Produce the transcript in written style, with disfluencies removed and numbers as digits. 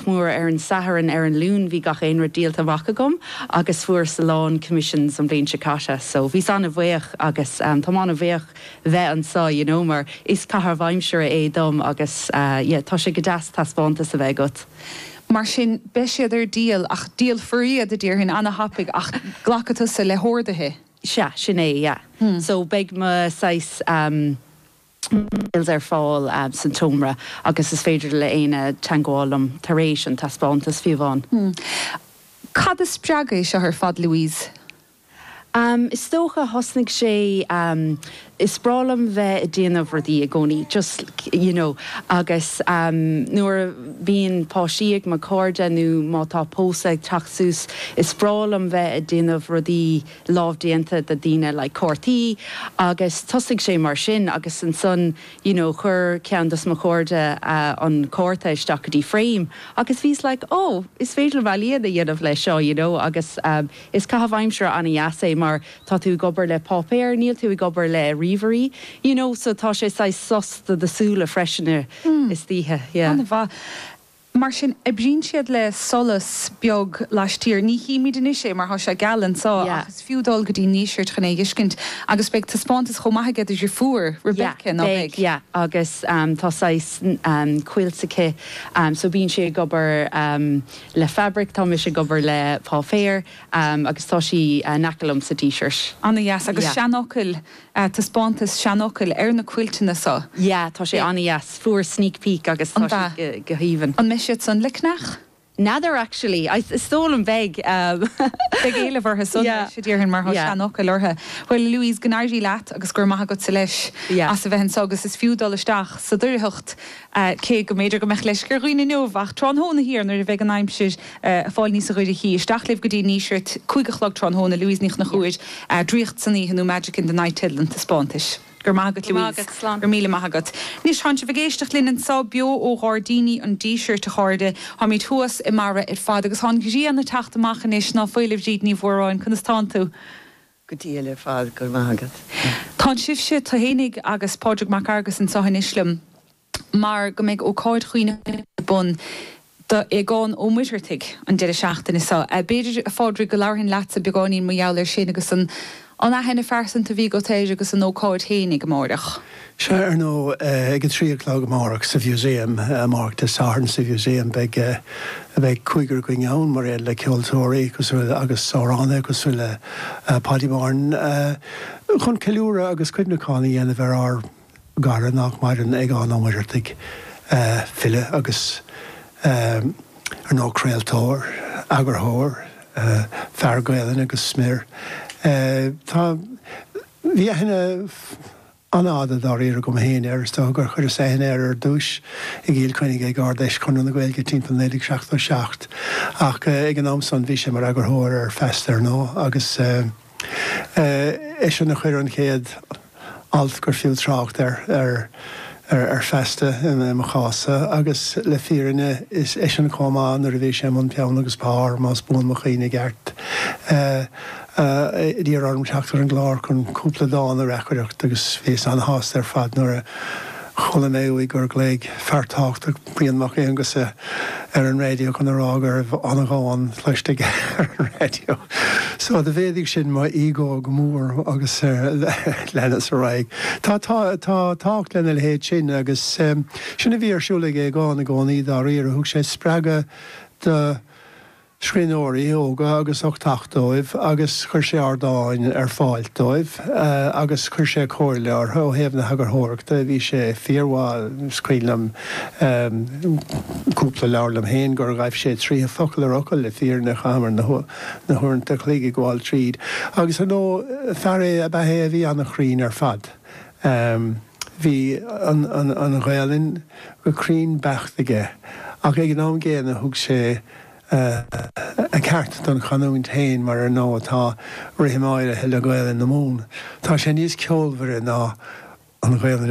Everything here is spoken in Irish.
mór ar an Satharn, ar an Luan bhí gach aon rud díolta amach agam agus fuaireas a lán commissions an bhliain seo caite so bhíos an-bhuíoch agus táim an-bhuíoch bheith anseo you know mar is caitheamh aimsire é dom agus yeah tá sé go deas taispeántas a bheith agat. Mar sin beidh siad ar díol ach díolfar iad a déarfainn ana-thapaidh ach glacfaidh tusa le horduithe. Sea, sin é, yeah. So beidh mo saghas mails ar fáil san tseomra agus is féidir le éinne teangmháil liom tar éis an taispeántas fiú amháin. Cad a spreag é seo ar fad Louise? Is dócha, thosnaigh sé, is breá liom bheith ag déanamh rudaí i gcónaí, just, you know, agus nuair a bhíonn páistí ag mo chairde nó má tá pósadh ag teacht suas, is breá liom bheith ag déanamh rudaí lámhdéanta do daoine, like cártaí, agus thosaigh sé mar sin agus ansan, you know, chuir ceann dos mo chairde an cárta isteach go dtí frame agus bhíos like, oh, is féidir liom ealaíon a dhéanamh leis seo, you know, agus. Is caitheamh aimsire an-dheas é mar tá tú ag obair le páipéar, níl tú ag obair le ríomhairí, you know, so tá sé saghas sos do do súile freisin istoíche, yeah. An-mhaith. Mar sin, oibríonn siad le solas beag laistiar. Ní chímid anois é mar tá sé geal anseo ach is fiú dul go dtí an Díseart chun é a fheiscint. Agus beidh taispeántas chomh maith aige do dheirfiúr, Rebecca, ná beidh? Beidh, yeah. Agus tá saghas quilt aici so bíonn sí ag obair Le fabraic, tá mise ag obair le páipéar agus tá sí in aice liom sa Díseart. Ana-dheas. Agus seanfhocail, taispeántas seanfhocail ar na cuilteanna so. Yeah, tá sé ana-dheas. Fuair sneak peek agus tá sé go haoibhinn. An mbeidh siad san le ceannach? N'fheadar actually. Is dóigh liom beidh. Beidh éileamh orthu san leis, a déarfainn, mar tá seanfhocail orthu. Bhuel, a Louise, go n-éirí leat agus go raibh maith agatsa leis as a bheith anso agus is fiú dul isteach sa Doircheacht Cé go mb'fhéidir go mbeadh leisce ar dhaoine inniu, ach tráthnóna thiar nuair a bheidh an aimsir ag fáil níosa dhoirchí, isteach libh go dtí an Díseart, 5 a chlog tráthnóna, Louise Ní Chonchúir, Draíocht san Oíche nó Magic in the Night teideal an taispeántais. Go raibh maith agat, Louise. Go raibh míle maith agat. Anois, tánn sibh ag éisteacht linn anseo beo ó Ghairdíní an Dísirt, a chairde. Táimid thuas i mbarra ar fad agus tá an ghrian ag teacht amach anois, ná fuil, a Bhríd Ní Mhóráin, conas tánn tú? Go diail ar fad, go raibh maith agat. Tánn sibhse, tú fhéinig agus Pádraig Mac Fhearghus anseo anois liom mar go mbeidh ócáid chuimhneacháin ar bun do Aogán Ó Muircheartaigh an deireadh seachtaine seo. B'fhéidir, a Phádraig, go labharfainn leatsa beagáinín mar gheall air sin agus an aithne phearsanta a bhí agat air agus an ócáid fhéinig amáireach. Sea, ar ndóigh, ag a 3 a chlog amárach sa Mhuseum, amárach Dé Sathairn sa Mhuseum, beidh, beidh cúigear againn ann, mar aon le ceoltóirí cosúil le, agus amhránaithe cosúil le Paudie Martin, chun ceiliúradh agus cuimhneachán a dhéanamh ar ár gcara nach maireann, Aogán Ó Muircheartaigh, file agus, ar ndóigh, craoltóir, eagarthóir, fear Gaelainne go smior. Tá, bhí aithne. an-fhada dáiríre agam féin air. Is dócha gur chuireas aithne air ar dtúis i gCill Chainnigh ag Ard-Fheis Chonradh na Gaeilge timpeall 1977 ach ag an am san bhí sé mar eagarthóir ar Feasta ar ndóigh agus eisean a chuir an chéad alt gur fiú trácht air ar ar Feasta i mo chás-sa agus le fírinne is eisean chomh maith nuair a bhí sé i mbun peann agus pár, más buan mo chuimhne i gceart. a d'iarr orm teacht ar an gclár chun cúpla dán a reacaireacht agus bhíos an-shásta ar fad nuair a chuala mé uaidh gur ghlaoigh fear tábhachtach, Brian Mac Aonghusa, ar an raidió chun a rá go raibh an-dhán cloiste aige ar an raidió. So do mhéadaigh sin mo ego go mór agus leanas ar aghaidh. Tá tá tá tábhacht lena leithéid sin agus sin a bhí ar siúl ag Aogán i gcónaí dáiríre, thug sé spreagadh do scríbhneoirí óga agus uchtach dóibh agus chuir sé ardáin ar fáil dóibh agus chuir sé comhairle orthu ó thaobh na heagarthóireachta. Bhí sé fíormhaith, is cuimhin liom cúpla leabhar liom féin gur ghaibh sé tríothu focal ar fhocal, le fírinne chaitheamar na huaireanta a chloig ag gabháil tríd. Agus ar ndóigh, fear é ab ea é a bhí an-chruinn ar fad. Bhí an Ghaelainn go cruinn beacht aige ach ag an am gcéanna thug sé a cheart don chanúint féin mar ar ndóigh tá rithim áirithe le Gaelainn na Mumhan. Tá sé níos ceolmhaire ná an Ghaelainn.